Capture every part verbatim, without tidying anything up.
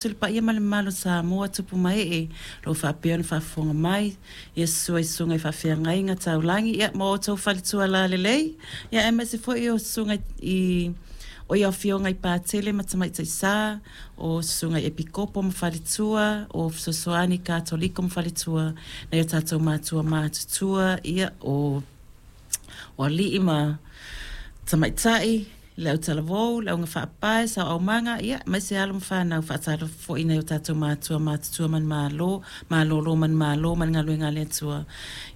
Atu le paia ma le mamalu o Samoa, tupu ma ee, o lo o faapea ona faafofoga mai, ia susu ai susuga i faafeagaiga taulagi, ia ma outou faletua lalelei, ia aemaise foi o susuga i o ia afioga i Patele ma Tamaitai Sa, o susuga i Epikopo ma faletua, o fesoasoani Katoliko ma faletua, nai o tatou matua matutua, ia o o alii ma tamaitai, le autalavou, le augafaapae, sauaumaga, ia aemaise alo ma fanau. Faatalofa foi i nai o tatou matua matutua manumalo, malolo manumalo ma le galuega a le Atua.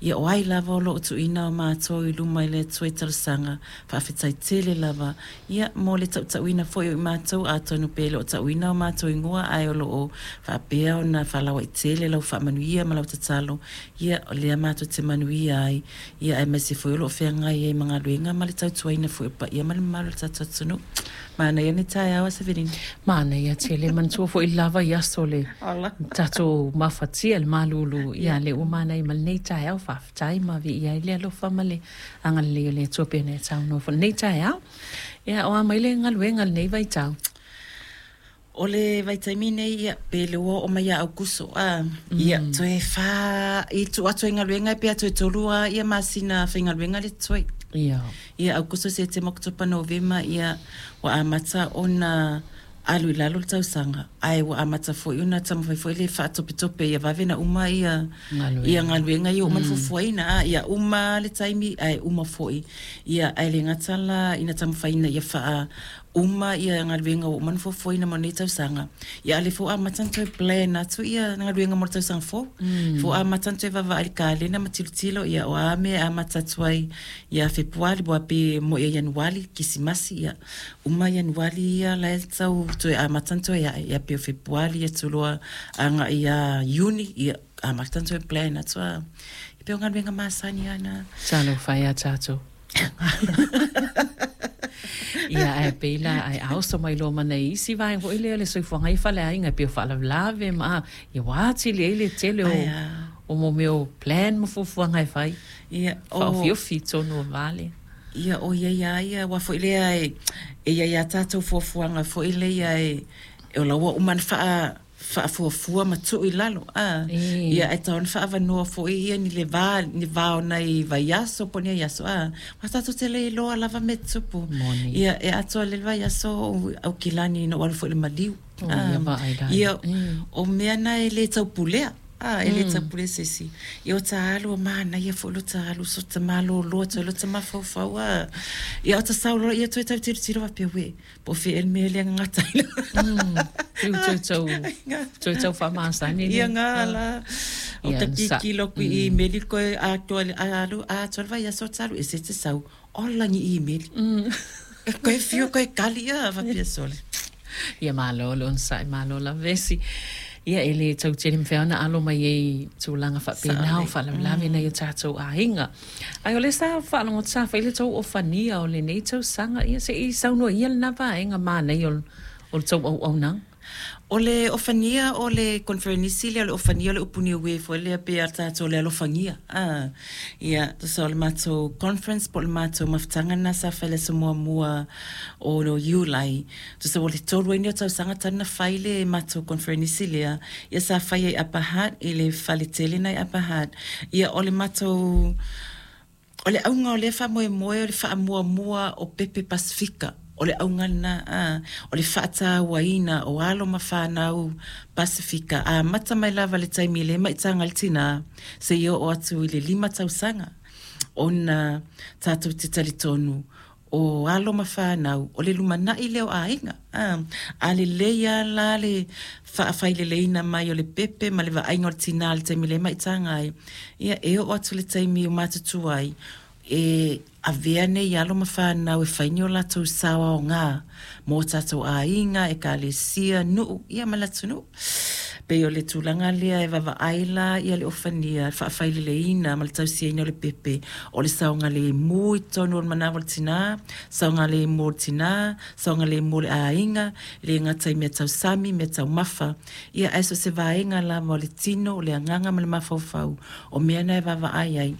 Ia o ai lava o lo o tuuina o matou i luma i le Atua i talosaga, faafetai tele lava. Ia mo le tautauina foi o i matou, atonu pe le o tauina o matou igoa, ae o lo o faapea ona faalautele lau faamanuia ma lau tatalo. Ia o lea matou te manuia ai, ia aemaise foi o lo o feagai ai ma galuega ma le tautuaina foi o paia ma le mamalu o le tatou atunuu. Manaia le taeao a Severina. Manaia tele, manatua foi lava i aso le tatou mafatia le malulu, ia le ua manaia ma lenei taeao, faafetai ma viia ai le alofa ma le agalelei o le Atua pei ona e saunoa foi lenei taeao. Ia o a mai le galuega lenei vaitau? O le vaitaimi nei, ia, pe le ua oo mai ia Aukuso, a, ia, toe fā, i tuu atu ai galuega e pe a toe tolu a, ia masina faigaluega le totoe. Ia. Ia Aukuso, Setema, Oketopa, Novema, ia, ua amata ona alu i lalo le tausaga, ae ua amata foi ona taumafai foi le faatopetope ia vave na uma ia galuega. Ia galuega ia uma na fuafuaina, a, ia uma le taimi ae uma foi. Ia ae le gata la ina taumafaiina ia faa uma ia galuega ua uma na fuafuaina mo nei tausaga, ia a o lea foi ua amata ona toe plan atu ia galuega mo le tausaga fou. Mm. Foi ua amata ona toe vaavaai i le kalena ma tilotilo, ia o a mea e amata atu ai ia Fepuari, ua pe mo ia Ianuari, Kisimasi, ia uma Ianuari ia la e tau toe amata ona toe ae, ia pe o Fepuari atu loa agai ia Iuni, ia amata ona toe plan atu a. Ia pe o galuega masani ana. Talofa e a tatou. Ia ae pei la ai a oso mai loa ma nai isi vaega foi lea o le soifuaga i faleaiga e pei o faalavelave ma ia ua atili ai le tele o Ai a. o mo mea o plan ma fuafuaga e fai. Ia o Faaofiofi i tonu o vale. Ia o ia ia ia ua foi lea e e ia ia tatou fuafuaga foi lea e e o la ua uma ona faa faafuafua ma tuu i lalo a E. ia e tatau ona faaavanoa foi ia ni le va ni va o nai vaiaso po o ni ai aso a aua tatou te le iloa lava mea e tutupu Moni. ia e atoa le vaiaso o Aukilani ina ua alu foi i le maliu O a ia vaai la ia ia. E. o mea na e le taupulea a e le Mm. taupulea se isi ia o ta alu o manaia foi lo ta alu so ta malōlō atu ai lo ta mafaufau a ia o ta sau loa ia toe tau tilotilo faapea uē po o fea ea le mea lea gagata ai Mm. Piu toe tau toe tau faamasani ia le. gā Ah. la o Ia ta na sa. kikilo aku i Mm. imeli koe atoa le alu atoa le vaiaso talu ese te sau ola ni imeli Mm. e koe fiu koe kali ia faapea sole. Ia malo le onosai malo lavesi. Ia e le tautele mawhea ona alo mai ei tūlanga whaapenau, Saʻolelei. faalavelave nai o tātou aiga. Ai o le sa whaalongo sa whaile tau o whania o le nei tausaga, ia se i saunoa ia lena vaega mānei o, o le tau auaunaga. O le ofania o le konferenisi lea o le ofania o le upu niue foi lea pe a tatou le alofagia. Ah, ia, tusa o le matou conference po o le matou mafutaga lena sa fai le aso muamua o Iulai. Tusa o le tolu ai nei o tausaga talu na fai le matou konferenisi lea. Ia sa fai ai Upper Hutt i le faletele na i Upper Hutt. Ia o le matou o le auga o lea faamoemoe o le faamuamua o pepe Pasifika. O le auga lena a, o le faatauaina o alo ma fanau Pasifika. Amata mai lava le taimi i le maitaga i le tinā, seia oo atu i le lima tausaga. Ona tatou te talitonu o alo ma fanau, o le lumanai lea o aiga. A, a lelei lava la le faafaileleina mai o le pepe ma le vaaiga o le tinā i le taimi le maitaga ai. Ia e oo atu le taimi o matutua ai, e avea nei alo ma fanau e fai ni o latou sao aogā mo tatou aiga, ekalesia, nuu, ia ma le atunuu. Pei o le tulaga lea e vaavaai la ia le ofania, le faafaileleina ma le tausiaina o le pepe, o le saogalemu i totonu o le manava o le tinā, saogalemu o le tinā, saogalemu o le aiga, e le gata i mea tausami, mea taumafa, ia ae so o se vaega lava o le tino, o le agaga ma le mafaufau, o mea na e vaavaai ai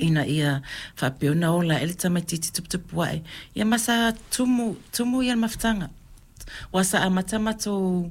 ina ia faapea ona ola ae le tamaitiiti tuputupu ae. Ia ma sa tumu, tumu ia le mafutaga. Ua sa amata matou